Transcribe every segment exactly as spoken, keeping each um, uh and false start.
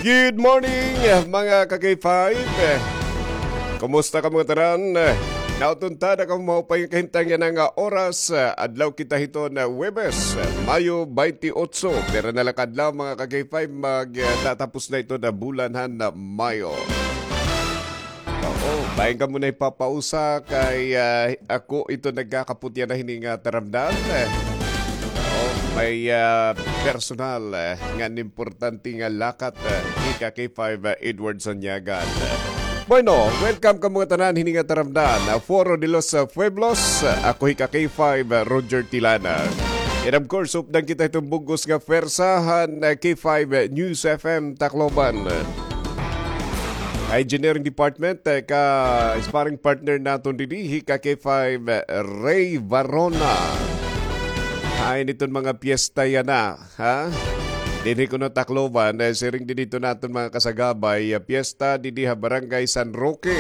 Good morning, mga ka-K five. Kumusta kamo tanan? Nauton ta na kamo maupay nga kahimtang yana nga oras. Adlaw kita hiton Huwebes, Mayo twenty-eight. Pira na la ka adlaw, mga ka-K five, magtatapos na iton bulan han Mayo. Oo, bangin kamo nahipapausa kay, ah, ako iton nagkakaputya na hini nga taramdan. Oo, may, ah, personal, eh, ngan importante nga lakat, eh, hi ka-K five, eh, Edward Sanyagan. Bueno, welcome kamo tanan hini nga taramdan, ah, Foro de los, ah, Pueblos. Ako hi ka-K five, ah, Roger Tilana. And of course, updan kita hiton bug-os nga pwersa han, ah, K five News F M Tacloban. Engineering Department, eh, ka-sparring partner naton didi, hi ka-K five, eh, Ray Varona. Hain iton mga piyesta yana, ha? Dinhi kuno Tacloban, eh, siring didi iton naton mga kasagabay, eh, piyesta didi ha Barangay San Roque.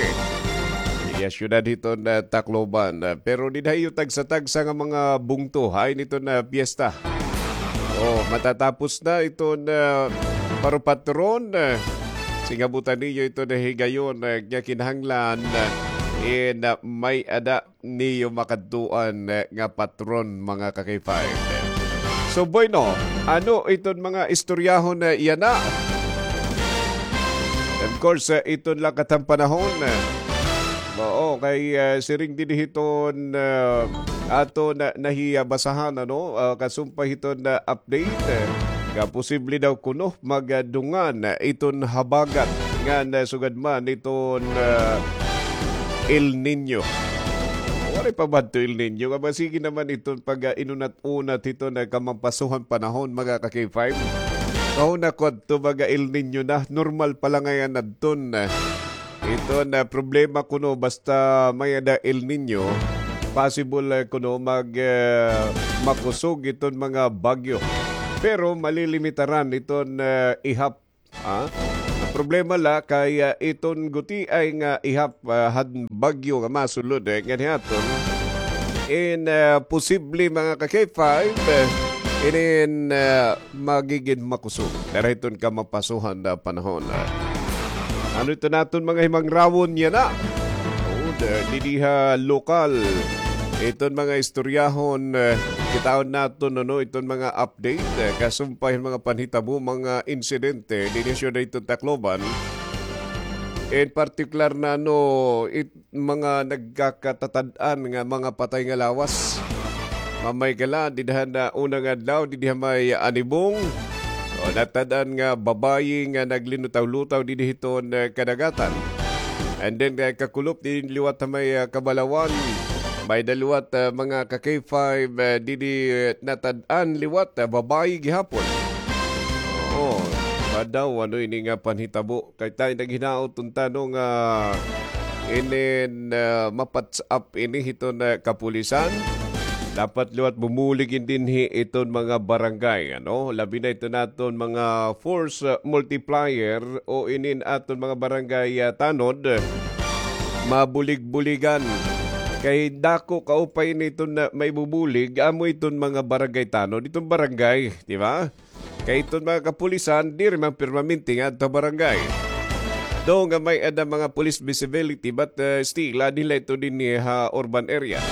Didi ha siyudad hiton, eh, Tacloban. Eh, pero didi ha iyo tagsa-tagsa nga mga bungto, hain iton, eh, piyesta. Oh, matatapos na iton, ah, parupatron, ah, singabutan niyo iton higayon, ah, nga kinahanglan, ah, in, ah, may-ada niyo makadtuan, ah, nga patron, mga ka-K five. So, bueno, ano iton mga istoryahon na yana? Of course, ah, iton lakat han panahon, ah, oo, kay, ah, siring didi hiton, ah, aton nahibasahan, ano, ah, kasumpay hiton, ah, update, eh, nga posible daw kuno magdungan, ah, iton habagat ngan, ah, sugad man iton, ah, El Niño. Waray pa ba adto El Niño? Nga ba, sige naman iton pag, ah, inunat-unat hiton, ah, kamapaso han panahon, mga ka-K five. Kahuna ko adto, mga El Niño na, normal pa la ngay-an adton, ah. Iton, ah, problema kuno basta may-ada El Niño, possible, ah, kuno mag, ah, makusog iton mga bagyo. Pero malilimitaran iton, ah, ihap, ah. An problema la kay, ah, iton gutiay nga ihap, ah, han bagyo nga masulod, eh, nganhi aton in, ah, posible, mga ka-K five, eh, inin, ah, magigin makusog dara hiton kamapaso han, ah, panahon. Ah, ano iton aton mga himangrawon yana? Oo, da-, didi ha lokal. Iton mga istoryahon, eh, kitaon naton, ano, iton mga update, eh, kasumpay han mga panhitabo, mga insidente didi ha siyudad hiton Tacloban. In partikular na, ano, it-, mga nagkakatatad-an nga mga patay nga lawas. Mamay ka la, didi han una nga adlaw, didi ha may Anibong. O, natad-an nga babayi nga naglinutaw-lutaw didi hiton, eh, kadagatan. And then, eh, kakulop, didi liwat ha may, eh, Kabalawan. May-ada liwat, eh, mga ka-K five, eh, didi, eh, natad-an liwat, eh, babayi gihapon. Oo, madaw, ano ini nga panhitabo? Kay tayo naghinaot unta, no, nga inin, ah, mapatch up ini hiton, ah, kapulisan. Dapat liwat bumulig in dinhi iton mga barangay, ano? Labi na iton aton mga force, ah, multiplier o inin aton mga barangay, ah, tanod. Mabulig-buligan. Kay dako kaupay ini iton, ah, maibubulig, amo iton mga barangay tanod, iton barangay, di ba? Kay iton mga kapulisan, diri man permanente nga adto barangay. Daw nga may-ada mga police visibility, but, uh, still, adi la ito dinhi ha urban area.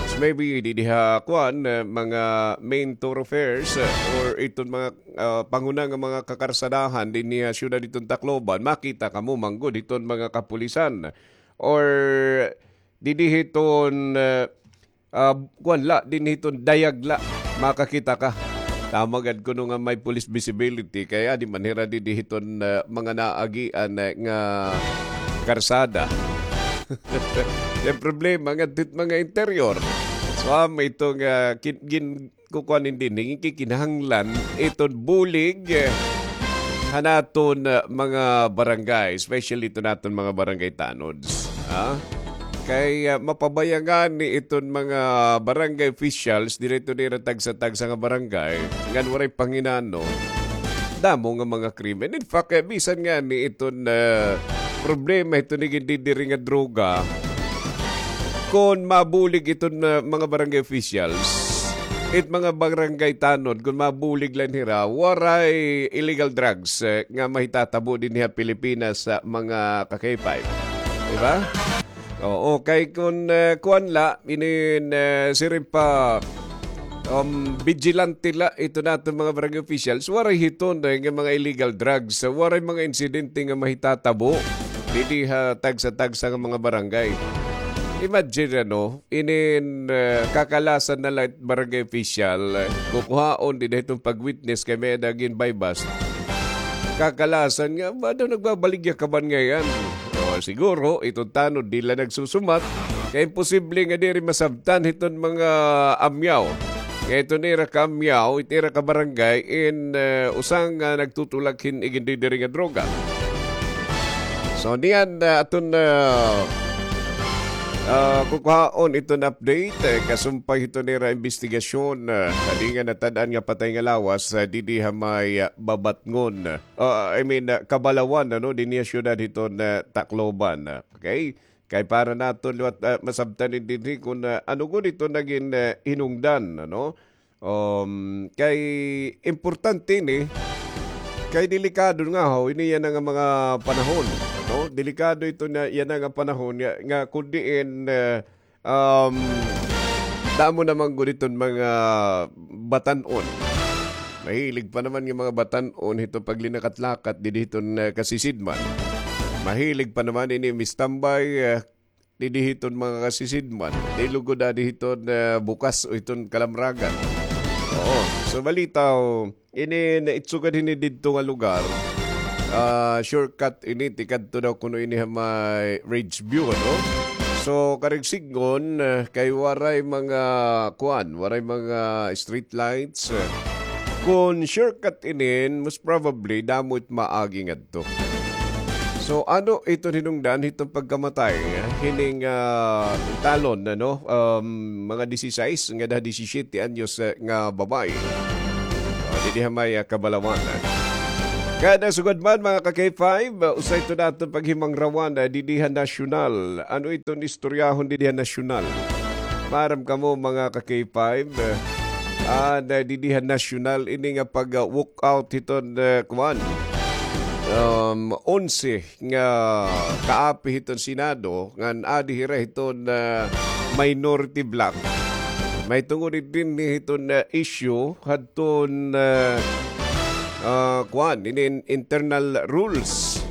It's maybe didi ha, kuan, uh, mga main thoroughfares, uh, or iton mga, uh, panghuna nga mga kakarsadahan dinhi ha siyudad hiton Tacloban, makita kamo man gud hiton mga kapulisan. Or didi hiton, uh, Ah, kuan la, dinhi hiton dayag la, makakita ka. Tama gad kuno nga may police visibility, kay adi man hira didi hiton, ah, mga naagian, ah, nga karsada. An problema ngadto hit mga interior. So, amo ito nga kin-, gin-, kukuan in dinhi, kinahanglan iton bulig, eh, han aton, ah, mga barangay, especially iton aton mga barangay tanods. Ah? Kay, ah, mapabaya ngani iton mga barangay officials, diri ito nira tagsa-tagsa nga barangay, ngan waray panginano, damo nga mga krimen. In fact, eh, bisan ngani iton, ah, problema iton nagindidiri nga droga, kon mabulig iton, ah, mga barangay officials, it mga barangay tanod, kon mabulig la hira, waray illegal drugs, eh, nga mahitatabo dinhi ha Pilipinas, ah, mga ka-K five. Di ba? Oo, kay kon, eh, kuan la, inin, eh, siring pa, um, vigilante la iton aton mga barangay officials, waray hiton, eh, nga mga illegal drugs, waray mga insidente nga mahitatabo didi ha tagsa-tagsa nga mga barangay. Imagine, ano, inin, eh, kakalasan na la it barangay official, eh, kukuhaon dida hiton pag-witness kay may-ada gin-buy-bust. Kakalasan nga, ba daw nagbabaligya ka man ngay-an? O, siguro, iton tanod, di la nagsusumat. Kay imposible nga diri masabtan hiton mga amyaw. Nga iton ira ka amyaw, it ira ka barangay, in, eh, usa nga nagtutulak hin igindidiri nga droga. So, niyan, ah, aton, ah, ah, kukuhaon iton update, eh, kasumpay hiton ira imbestigasyon, ah, hadi nga natad-an nga patay nga lawas, ah, didi ha may, ah, Babatngon. Ah, I mean, ah, Kabalawan, ano, dinhi ha syudad hiton, ah, Tacloban, ah, okay? Kay para naton liwat, ah, masabtan dinhi kon, ah, ano gud iton nagin, ah, hinungdan, ano? Um, kay importante ini, kay delikado nga haw ini yana nga mga panahon, no? Delikado ito na yana nga panahon nga, nga kun diin, eh, um, damo naman gud iton mga batan-on. Mahilig pa naman nga mga batan-on hito paglinakat-lakat didi hiton, eh, kasisidman. Mahilig pa naman ini mistambay, eh, didi hiton mga kasisidman. Di lugod adi hiton, eh, bukas o hiton kalamragan. Oo. So, balitaw, ini naitsugad hini didto nga lugar. Ah, shortcut ini, tikadto daw kuno ini ha may Ridge View, ano? So, karigsigon, eh, kay waray mga, kuan, waray mga street lights, eh. Kon shortcut inin, most probably, damo it maagi ngadto. So, ano iton hinungdan hiton pagkamatay hining, ah, talon, ano, um, mga disisais ngada disisiyete anyos, eh, nga babaye? O, didi ha may, ah, Kabalawan, eh. Kada sugad man, mga ka-K five, ah, usa ito naton paghimangrawan, ah, didi ha nasyonal. Ano iton istoryahon didi ha nasyonal? Maaram kamo, mga ka-K five, eh, ah, na didi ha nasyonal ini nga pag, ah, walk out hiton, eh, kuan, um, onse nga kaapi hiton Senado ngan adi hira hiton, ah, minority bloc. Mahitungod dinhi hiton, ah, issue hadton, ah, ah, kuan, inin internal rules.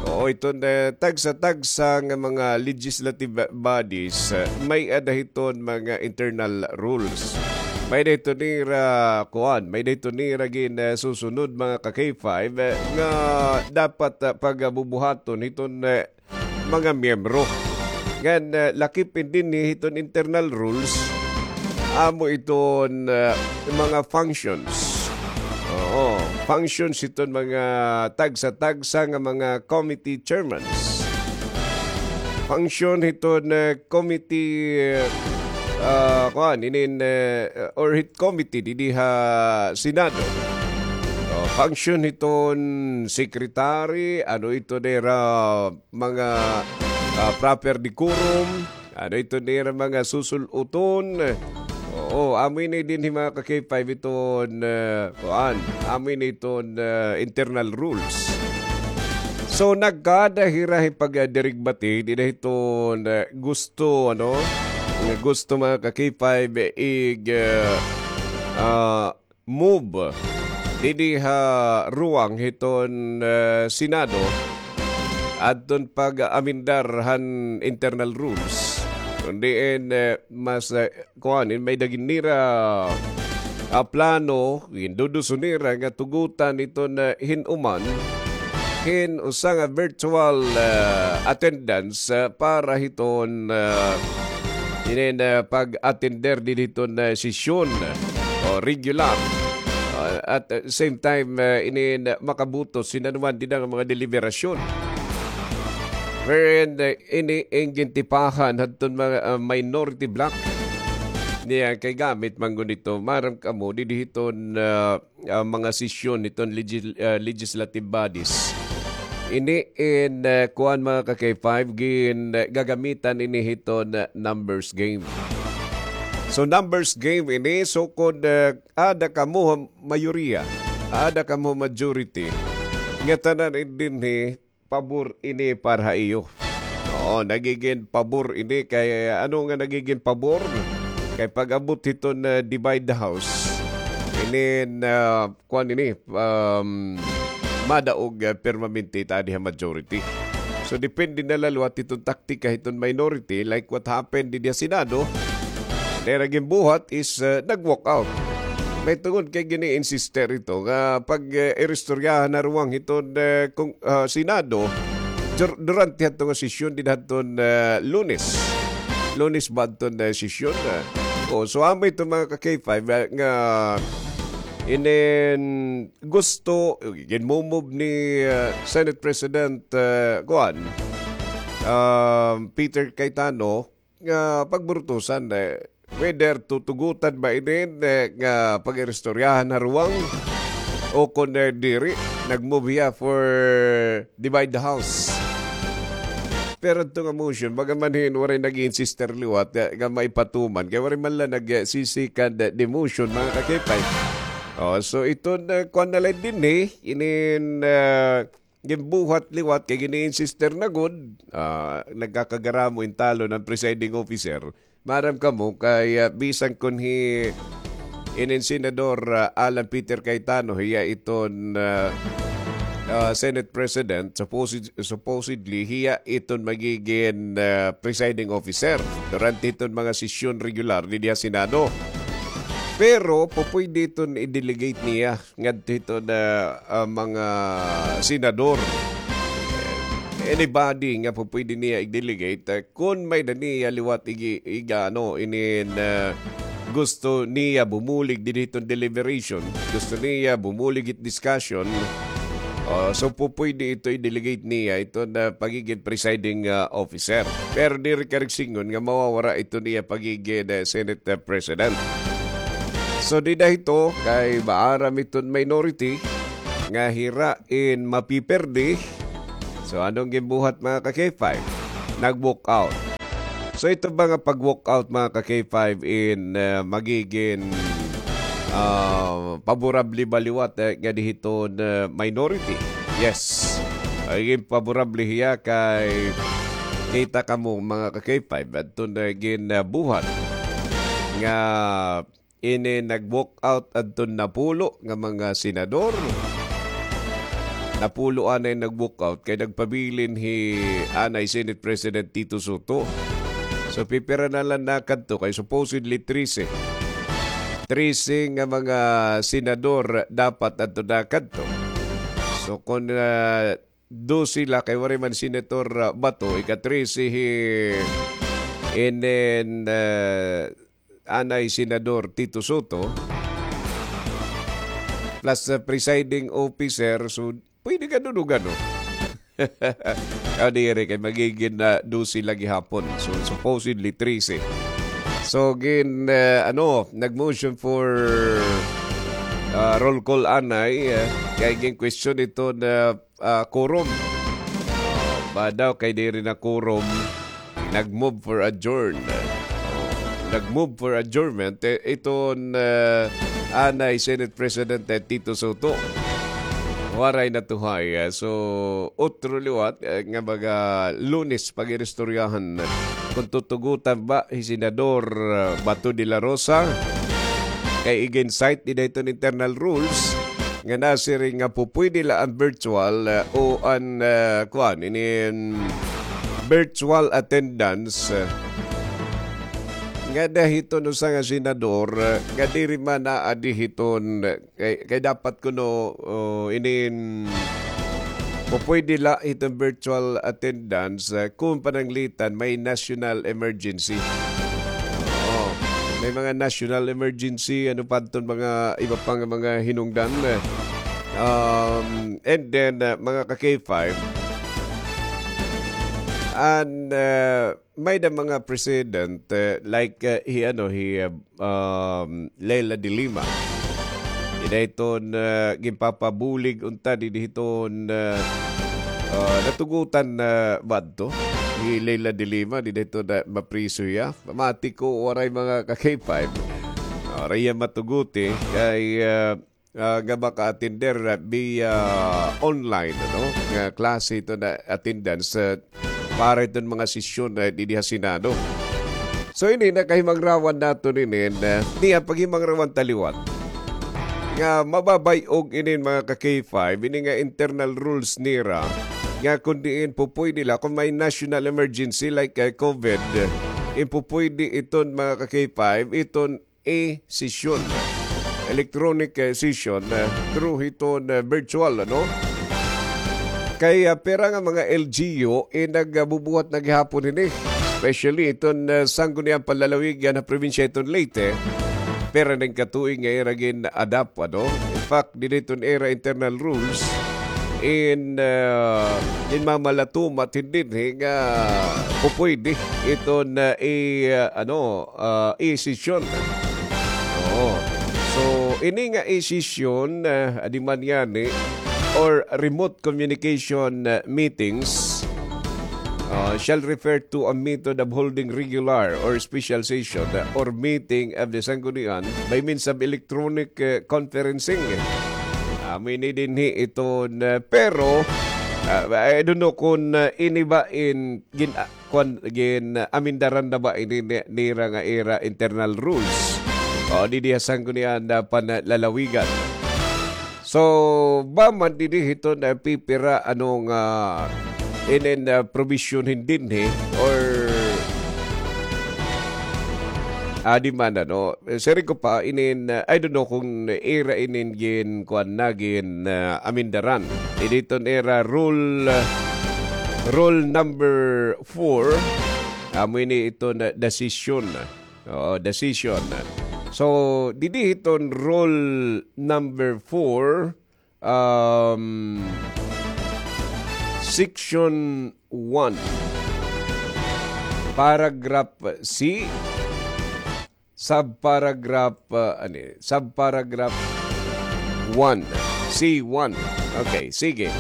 Oo, iton, eh, tagsa-tagsa nga mga legislative bodies, eh, may-ada hiton mga internal rules. May-ada hiton nira, kuan, may-ada hiton nira gin, eh, susunod, mga ka-K five, eh, nga dapat, ah, pagabubuhaton hiton, eh, mga miyembro. Ngan, eh, lakip dinhi hiton internal rules, amo iton, eh, mga functions. Oo, functions hiton mga tagsa-tagsa nga mga committee chairmans. Function hiton, eh, committee, eh, ah, kuan, inin, eh, or hit committee didi ha Senado. Oh, function hiton secretary, ano ito nira mga, ah, proper decorum, ano ito nira mga susul-uton. Oo, amo ini dinhi, mga ka-K five, iton, ah, kuan, amo ini iton, ah, internal rules. So, nagkada hira hin pagdirigbati, dida hiton, ah, gusto, ano, nga gusto, mga ka-K five, ig, ah, ah, move didi ha ruwang hiton, eh, Senado adton pag-amendar han internal rules. Kon diin, eh, mas, eh, kuan, in may-ada gin nira, ah, plano, ginduduso nira nga tugotan iton, eh, hin-uman hin usa nga virtual, eh, attendance, eh, para hiton, eh, inin, eh, pag-attender didi hiton, eh, sesyon, o regular. Ah, at, eh, same time, eh, inin, eh, makabutos hin anuman dida nga mga deliberasyon. Wherein, eh, ini in gintipahan hadton mga, ah, minority bloc. Niya kay gamit man gud ito, maaram kamo, didi hiton, ah, ah, mga sesyon hiton legis-, ah, legislative bodies. Ini in, ah, kuan, mga ka-K five, gin, ah, gagamitan ini hiton, ah, numbers game. So, numbers game ini. So, kon, ah, aada kamo ha mayoriya, aada kamo ha majority, nga tanan dinhi pabor ini para ha iyo. Oo, nagigin pabor ini kay, ano nga nagigin pabor? Kay pag-abot hiton, ah, divide the house, inin, ah, kuan ini, um, madaog, ah, permanente it aadi ha majority. So, depende na la liwat hiton taktika hiton minority, like what happened didi ha Senado. Diri ginbuhat is, ah, nag-walk out. May tungod kay gini-insister ito nga pag, eh, iristoryahan na ruwang hiton, eh, kung, ah, Senado, dur-, durante hadto nga sesyon dida hadton, eh, Lunes. Lunes ba hadton, eh, sesyon, eh? O, so amo ito, mga ka-K five, eh, nga inin gusto, ginmumove ni, eh, Senate President, eh, kuan, ah, Peter Cayetano, nga pagburutusan, eh, whether tutugutan ba inin, eh, nga pag-iristoryahan ha ruwang o kon, eh, diri, nag-move hiya for divide the house. Pero ito nga motion, bagaman hin waray nag-insister liwat, eh, nga maipatuman, kay waray man la nag-, eh, sisikad, eh, di motion, mga ka-K five. Oh, so ito na, kuan na la dinhi, inin, eh, ginbuhat liwat kay gini-insister na gud, ah, nagkakagaramo in talon an presiding officer. Maaram kamo kay, ah, bisan kon hi inin Senador, ah, Alan Peter Cayetano, hiya iton, ah, ah, Senate President, supposed-, supposedly, hiya iton magigin, ah, presiding officer durante iton mga sesyon regular didi ha Senado. Pero, pupwede iton i-delegate niya ngadto hiton, ah, ah, mga senador. Anybody nga pupwede niya i-delegate, ah, kon may-ada niya liwat igi-, iga-, ano, inin, ah, gusto niya bumulig didi hiton deliberation, gusto niya bumulig hit discussion, ah, so pupwede ito i-delegate niya iton, ah, pagigin presiding, ah, officer. Pero diri karuyag sidngon nga mawawara iton iya pagigin, ah, Senate, ah, President. So, dida hito, kay maaram iton minority nga hira in mapiperde. So, ano an ginbuhat, mga ka-K five? Nag-walk out. So, ito ba nga pag-walk out, mga ka-K five, in, ah, magigin, ah, paborable ba liwat, eh, ngadi hiton, ah, minority? Yes. Magigin paborable hiya kay kita kamo, mga ka-K five, adton, ah, ginbuhat nga ini nag-walk out adton napulo nga mga senador. Napulo anay nag-walk out kay nagpabilin hi anay Senate President Tito Sotto. So, pipira na la nakadto kay supposedly trese. Trese nga mga senador dapat adto nakadto. So, kon, ah, dose la kay waray man Senator, ah, Bato, ika-trese hi, and then, ah, anay Senador Tito Sotto, plus, ah, presiding officer, so pwede ka dun og ano. Ah, diri kay magigin na dose la gihapon. So, supposedly trese. So, gin, ah, ano, nag-motion for, ah, roll call anay, ah, kay gin-question ito na ah, quorum. Ah, ba daw kay diri na quorum, nag-move for adjourn. Oh, nag-move for adjournment, eh, iton, ah, anay Senate President, eh, Tito Sotto. Waray natuhay, ah, so, otro liwat, eh, nga mga Lunes pag-iristoryahan. Kung tutugutan ba hi Senador, ah, Bato de la Rosa? Kay igin-cite dida hiton internal rules nga nasiring nga pupwede la an virtual, ah, o an, ah, kuan, inin virtual attendance, ah, ngada hiton usa nga senador, ah, nga diri man aadi hiton, ah, kay, kay dapat kuno, oh, inin pupwede la hiton virtual attendance, ah, kung pananglitan may national emergency. Oo. May mga national emergency, ano pa adton mga iba pa nga mga hinungdan. Um, and then, uh, mga ka-K five, and, uh, may-ada mga president, uh, like, uh, hi, ano, hi, uh, um, Leila de Lima. Dida hiton, uh, ginpapabulig unta didi hiton, uh, Ah, natugutan na ba adto ni Leila de Lima, dida hiton mapriso hiya? Pamati ko waray, mga ka-K five. Waray hiya matuguti kay, ah, ah, nga maka-attender, ah, via online, ano, nga klase hiton attendance, ah, para hiton mga sesyon, ah, didi ha Senado. So, ini nakahimangrawan naton inin, ah, niya paghimangrawan ta liwat nga mababay-og inin, mga ka-K five, ini nga internal rules nira, nga kon diin pupuydi la, kon may national emergency like, ah, COVID, in pupuydi iton, mga ka-K five, iton e-session, electronic, eh, session, eh, through hiton, eh, virtual, ano? Kay, ah, pira nga mga L G U, eh, nagbubuhat na gihapon hini. Especially iton, eh, Sangguniang Panlalawigan ha probinsya hiton Leyte. Pira na nga katuig nga ira gin-adapt, ano? In fact, didi hiton ira internal rules, in, ah, in mamalatumat hindin, eh, nga pupuydi iton, ah, i-, ah, ano, ah, e-session. Oo. So, ini nga e-session, ah, adi man ngani, or remote communication, ah, meetings, ah, shall refer to a method of holding regular or special session, ah, or meeting of the Sanggunian by means of electronic, ah, conferencing. Amo ini dinhi iton, ah, pero, ah, I don't know kon, ah, ini ba in gin-, ah, kuan, gin-, ah, amindaran na ba ini ni-, nira nga ira internal rules. O, didi ha Sanggunian na Panlalawigan. So, ba man didi hiton, ah, pipira, ano nga, inin, ah, provision hindin, he, or, ah, di man, ano, eh, siring ko pa, inin, ah, I don't know kon ira inin gin, kuan na, gin, ah, amindaran. Ini iton ira rule, ah, rule number four, amo ini iton, ah, decision. Oo, decision. So, didi hiton rule number four, um, section one, paragraph C, subparagraph, ah, ano, subparagraph one, C one. Okay, sige.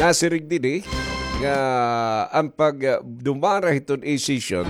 Nasiring didi nga an pag, ah, dumara hiton e-session,